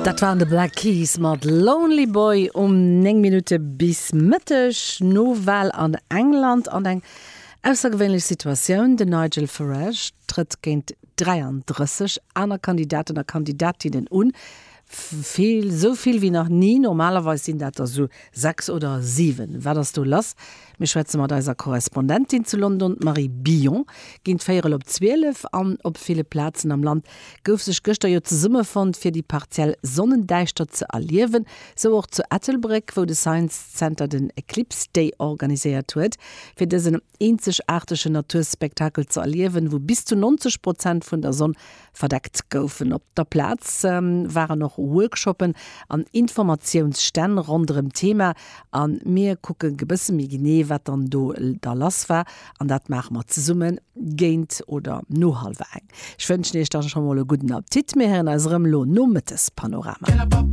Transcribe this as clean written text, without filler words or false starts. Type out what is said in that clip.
Dat waren de Black Keys mat Lonely Boy um 9 Minutte bis Mëtteg. Nowal an England an eng aussergewéinlech Situatioun, Den Nigel Farage trëtt géint 33 aner Kandidaten a Kandidatinnen un. Vill, esou vill wéi nach ni. Normalerweis sinn dat der sou 6 oder 7. Wat ass do lass? Mir schwätze mat eiser Korrespondentin zu London, d'Marie Billon. Géint véierel op 12 an op ville Plazen am Land gouf sech gëschter jo zesummefonnt, fir déi partiell Sonnendäischtert ze erliewen. Sou och zu Ettelbréck, wou de Science Center den Eclipse Day organiséiert huet. Fir dësen eenzegaartegen Naturspektakel ze erliewen, wou bis zu 90 Prozent vun der Sonn verdeckt goufen. Op der Plaz waren och Workshoppen an Informatiounsstänn ronderëm d'Thema a mir kucke e bësse méi genee, wat dann do da lass war an dat maache mer zesumme géint oder no hallwer eng. Ech wënschen iech da scho mol e gudden Appetit. Mir héieren eis erëm elo nom Mëttespanorama.